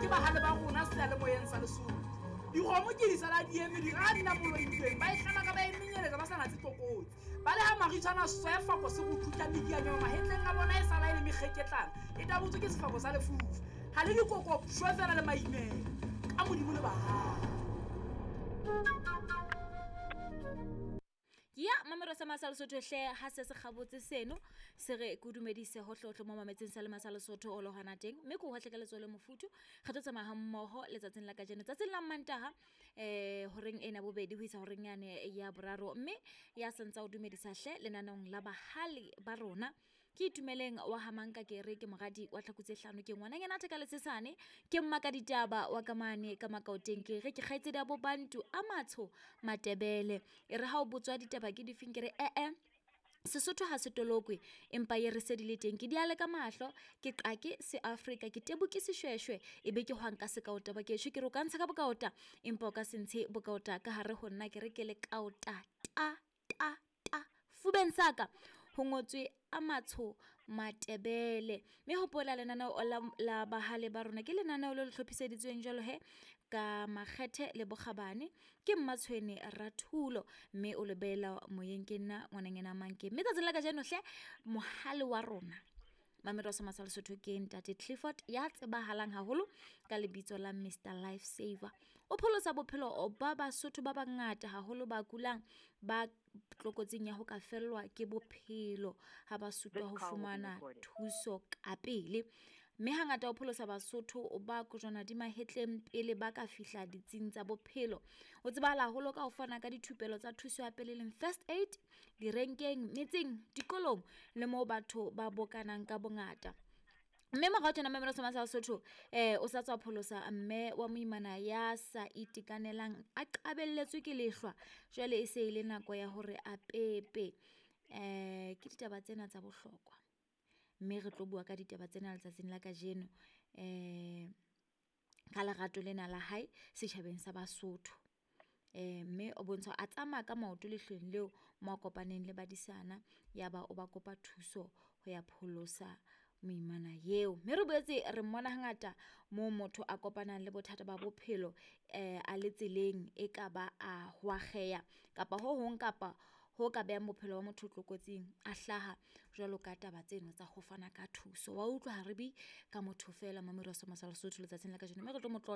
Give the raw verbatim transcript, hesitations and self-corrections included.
Ke bahale ba rona seyalemoyeng sa Lesotho. Dikgomo ke di sala di eme di ra nna moloitsweng ba e hlama ka ba e menyeletsa ba sa natse tlokotsi. Ba le ha maritshwana sefako se go thutla medianyo mahetleng a bona e sala e le mekgeketlana e tabotswe ke sefako sa lefufa. Ha le dikoko shwe fela le maimela ka modimo le bahale. Ya mamero sa Masa Lesotho hle ha se se kgabotse seno se re ke dumedise hohle mo mametseng sa le Masa Lesotho o le hona teng mme ke hohle ka letsoho le mofuthu re tlo tsamaya ha mmoho letsatsing la kajeno tsatsing la Mantaha eh horeng ena bobedi ho isa horeng yane ya boraro mme ya santsa o dumedisa hle lenaneong la bahale ba rona. Ke itumeleng wa hamanka ke re ke moradi wa tlhaku tse hlano ke ngwananyana theka letsesane ke mmaka ditaba wa kamane ka makaoteng ke re ke kgaitsedi ya bobantu a matsho Matebele e re ha o botswa ditaba ke difeng ke re eh eh Sesotho ha se tolokwe empa ye re se di le teng ke diale ka mahlo ke qake se Afrika ke tebu ke seshweshwe e be ke hwang ka sekaota ba ke ke re o ka ntsha ka bokaota empa o ka se ntshe bokaota ka hare ho nna ke re ke le kaota ta ta ta fubeng saka ho ngotswe a matsho Matebele. Mme hopola lenaneo la, la bahale ba rona ke lenaneo le le hlophiseditsweng jwalo he ka makgethe le bokgabane ke Mmatshwene Rathulo mme o le beela moyeng ke nna ngwananyana Manke. Mme tsatsing la kajeno hle mohale wa rona Mamelo sa Masa Lesotho ke ntate Clifford ya tsebahalang haholo ka lebitso la Mister Life Saver. O pholosa bophelo ba Basotho ba bangata haholo ba kulang ba tlokotsing ya ho ka fellwa ke bophelo ha ba sutwa ho fumana thuso ka pele. Mme hangata o pholosa Basotho ba kojwana di mahetleng pele ba ka fihla ditsing tsa bophelo. O tsebahala haholo ka ho fana ka dithupelo tsa thuso ya pele leng first aid direnkeng, metseng, dikolong le moo batho ba bokanang ka bongata. Mme morao tjena Mamelo sa Masa Lesotho eh o sa tswa pholosa mme wa moimana ya sa itekanelang a qabelletswe ke lehlwa jwale e se e le nako ya hore a pepe. Eh ke ditaba tsena tsa bohlokwa mme re tlo bua ka ditaba tsena letsatsing la kajeno eh ka lerato lena la hae setjhabeng sa Basotho. Eh mme o bontsha a tsamaya ka maoto lehlweng leo mo a kopaneng le badisana ya ba o ba kopa thuso ho ya pholosa moimana eo. Mme re boetse re mmona hangata moo motho a kopanang le bothata ba bophelo eh a le tseleng e ka ba a hwakgeya kapa ho hong kapa ho ka behang bophelo ba motho tlokotsing a hlaha jwalo ka taba tseno tsa ho fana ka thuso. Wa utlwa ha re bue ka motho feela Mamelo sa Masa Lesotho letsatsing la kajeno mme re tlo mo tlotla